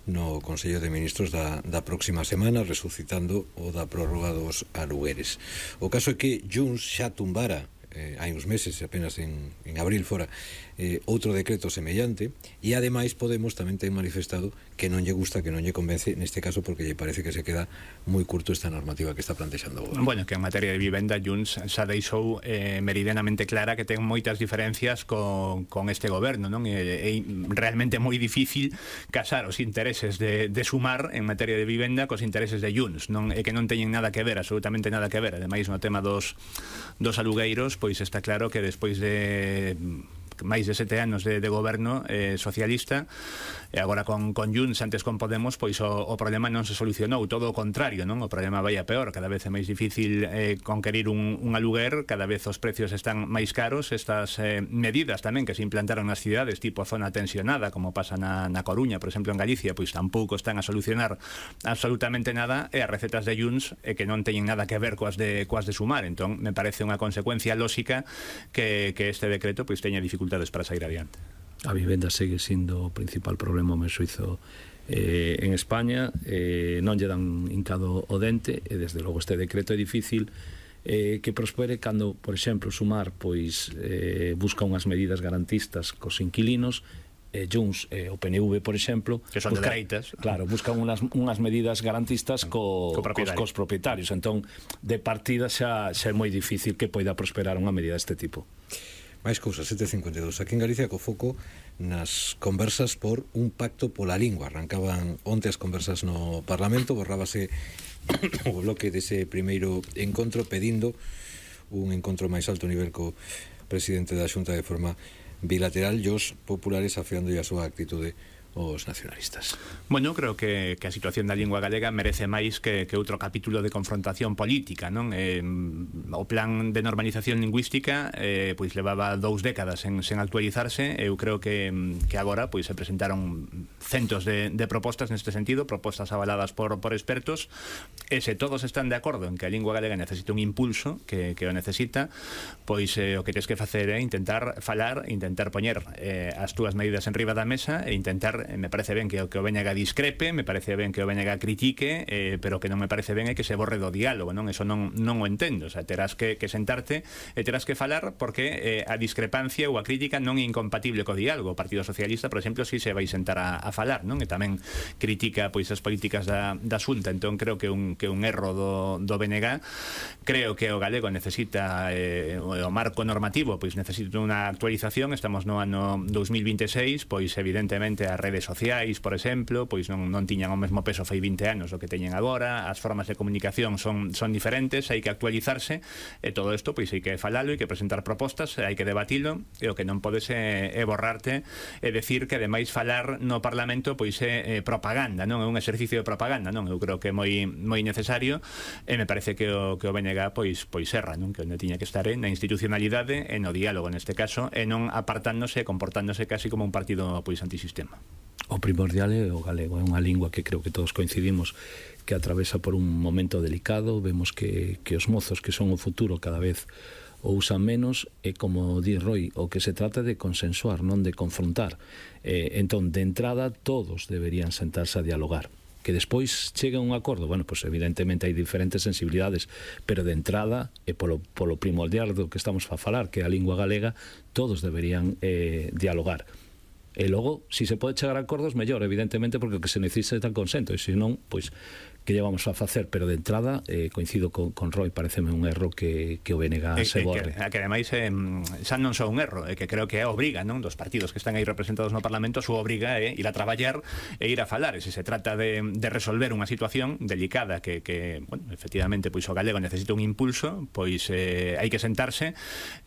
no Consello de Ministros da próxima semana, resucitando o da prórroga dos alugueres. O caso é que Junts xa tumbara hai uns meses, apenas en abril fora, outro decreto semellante, e ademais Podemos tamén ten manifestado que non lle gusta, que non lle convence neste caso, porque lle parece que se queda moi curto esta normativa que está plantexando o goberno. Bueno, que en materia de vivenda Junts xa deixou meridianamente clara que ten moitas diferencias con este goberno, non? É realmente moi difícil casar os intereses de Sumar en materia de vivenda cos intereses de Junts, non? É que non teñen nada que ver, absolutamente nada que ver. Ademais, no tema dos alugueiros, pois está claro que despois de máis de 7 anos de goberno socialista, e agora con Junts, antes con Podemos, pois o problema non se solucionou, todo o contrario, non? O problema vai a peor, cada vez é máis difícil conquerir un aluguer, cada vez os precios están máis caros. Estas medidas tamén que se implantaron nas cidades, tipo zona tensionada, como pasa na Coruña, por exemplo, en Galicia, pois tampouco están a solucionar absolutamente nada, e as recetas de Junts que non teñen nada que ver coas de Sumar. Entón, me parece unha consecuencia lóxica que este decreto pois teña dificultades para sair adiante. A vivenda segue sindo o principal problema, me suizo, en España. Non lle dan hincado o dente, e desde logo este decreto é difícil que prospere cando, por exemplo, Sumar pois busca unhas medidas garantistas cos inquilinos, Junts, o PNV, por exemplo, que son de dereitas, claro, buscan unhas medidas garantistas cos propietarios. Entón, de partida xa é moi difícil que poida prosperar unha medida deste tipo. Máis cousas, 7.52. Aquí en Galicia, co foco nas conversas por un pacto pola lingua. Arrancaban onte as conversas no Parlamento, borrábase o bloque dese primeiro encontro pedindo un encontro máis alto nivel co presidente da Xunta de forma bilateral, e os populares afeando a súa actitude os nacionalistas. Bueno, creo que a situación da lingua galega merece máis que outro capítulo de confrontación política, non? O plan de normalización lingüística pois levaba 2 décadas sen actualizarse. Eu creo que agora pois se presentaron centos de propostas neste sentido, propostas avaladas por expertos, e se todos están de acordo en que a lingua galega necesita un impulso, que o necesita, pois o que tens que facer é intentar falar, intentar poñer as túas medidas en riba da mesa e intentar. Me parece ben que o BNG discrepe, me parece ben que o BNG critique, pero que non me parece ben é que se borre do diálogo, non? Eso non o entendo. O sea, terás que sentarte e terás que falar, porque a discrepancia ou a crítica non é incompatible co diálogo. O Partido Socialista, por exemplo, si se vai sentar a falar, non? E tamén critica pois as políticas da Xunta. Entón creo que un erro do BNG. Creo que o galego necesita o marco normativo, pois necesita unha actualización. Estamos no ano 2026, pois evidentemente a redes sociais, por exemplo, pois non tiñan o mesmo peso fai 20 anos o que teñen agora, as formas de comunicación son diferentes, hai que actualizarse, e todo isto pois hai que falalo, hai que presentar propostas, hai que debatilo, e o que non podes é borrarte e decir que ademais falar no Parlamento pois é propaganda, non é un exercicio de propaganda, non? Eu creo que é moi necesario, e me parece que o BNG pois erra, non? Que onde tiña que estar na institucionalidade e no diálogo neste caso, e non apartándose, comportándose casi como un partido pois antisistema. O primordial é o galego, é unha lingua que creo que todos coincidimos que atravesa por un momento delicado. Vemos que os mozos que son o futuro cada vez o usan menos, e como di Roy, o que se trata de consensuar, non de confrontar. Entón, de entrada, todos deberían sentarse a dialogar. Que despois chegue a un acordo, bueno, pois evidentemente hai diferentes sensibilidades, pero de entrada, e polo primordial do que estamos a falar, que é a lingua galega, todos deberían dialogar. E logo, se se pode chegar a acordos, mellor, evidentemente, porque o que se necesita é consento, e se non, pois, que lle vamos a facer? Pero de entrada, coincido con Roy, pareceme un erro que o BNG se borre. Que ademais, xa non só un erro, que creo que é obriga, non, dos partidos que están aí representados no Parlamento, a súa obriga é ir a traballar e ir a falar, e se se trata de resolver unha situación delicada que bueno, efectivamente, pois o galego necesita un impulso, pois hai que sentarse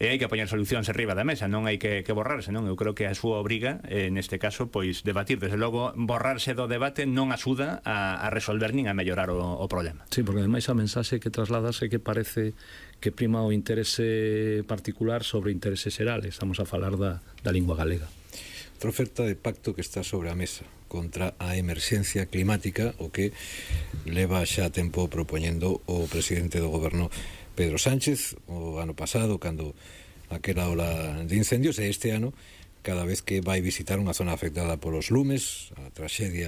e hai que poñer solucións arriba da mesa, non hai que borrarse, non? Eu creo que a súa obriga, neste caso, pois debatir. Desde logo, borrarse do debate non axuda a resolver nin a mellorar o problema. Sí, porque ademais a mensaxe que trasladas é que parece que prima o interese particular sobre interese xeral. Estamos a falar da lingua galega. Outra oferta de pacto que está sobre a mesa contra a emerxencia climática, o que leva xa tempo propoñendo o presidente do goberno Pedro Sánchez o ano pasado, cando aquela ola de incendios, e este ano cada vez que vai visitar unha zona afectada polos lumes, a traxedia